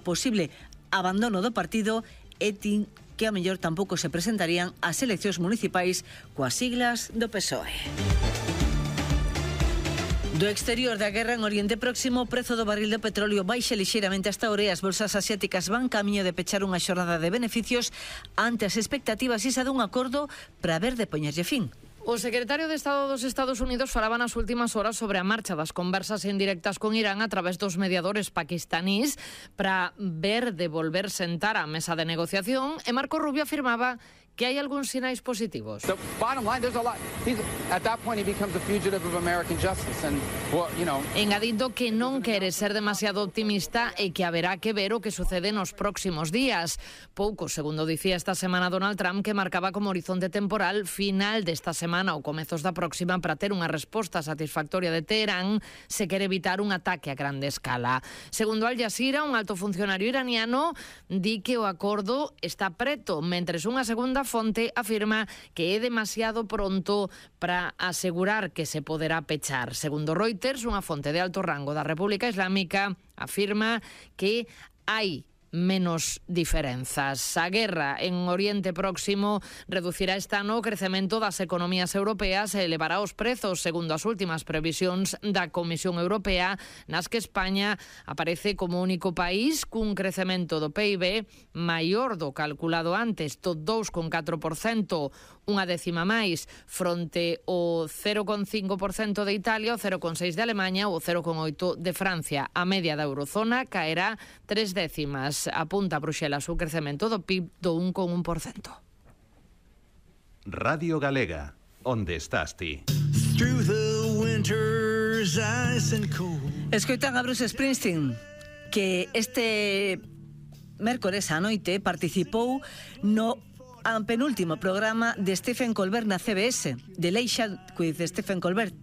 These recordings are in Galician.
posible abandono do partido e tin que a mellor tampouco se presentarían ás eleccións municipais coas siglas do PSOE. Do exterior da guerra en Oriente Próximo, o prezo do barril de petróleo baixa lixeiramente hasta ahora e as bolsas asiáticas van camiño de pechar unha xornada de beneficios ante as expectativas isa dun acordo para ver de poñerlle fin. O secretario de Estado dos Estados Unidos falaba nas últimas horas sobre a marcha das conversas indirectas con Irán a través dos mediadores paquistanís para ver de volver sentar á mesa de negociación, e Marco Rubio afirmaba que hai algúns sinais positivos. Engadindo que non quere ser demasiado optimista e que haberá que ver o que sucede nos próximos días. Pouco, segundo dicía esta semana Donald Trump, que marcaba como horizonte temporal final desta semana ou comezos da próxima para ter unha resposta satisfactoria de Teherán se quere evitar un ataque a grande escala. Segundo Al Jazeera, un alto funcionario iraniano di que o acordo está preto, mentres unha segunda fonte afirma que é demasiado pronto para asegurar que se poderá pechar. Segundo Reuters, unha fonte de alto rango da República Islámica afirma que hai menos diferenzas. A guerra en Oriente Próximo reducirá este ano o crecemento das economías europeas e elevará os prezos, segundo as últimas previsións da Comisión Europea, nas que España aparece como único país cun crecemento do PIB maior do calculado antes, do 2,4%, unha décima máis, fronte ao 0,5% de Italia, o 0,6% de Alemanha ou o 0,8% de Francia. A media da eurozona caerá 3 décimas. Apunta a Bruxelas o crecemento do PIB do 1,1%. Radio Galega, onde estás ti? Escoitan a Bruce Springsteen, que este mércores á noite participou no penúltimo programa de Stephen Colbert na CBS, The Late Show with Stephen Colbert,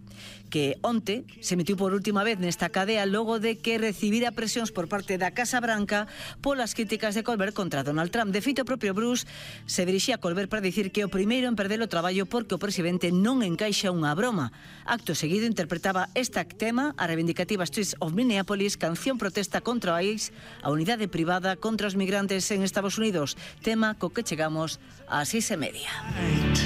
que onte se emitiu por última vez nesta cadea logo de que recibira presións por parte da Casa Branca polas críticas de Colbert contra Donald Trump. De feito, o propio Bruce se dirixía a Colbert para dicir que o primeiro en perder o traballo porque o presidente non encaixa unha broma. Acto seguido interpretaba esta tema, a reivindicativa Streets of Minneapolis, canción protesta contra o ICE, a unidade privada contra os migrantes en Estados Unidos, tema co que chegamos ás 6:30.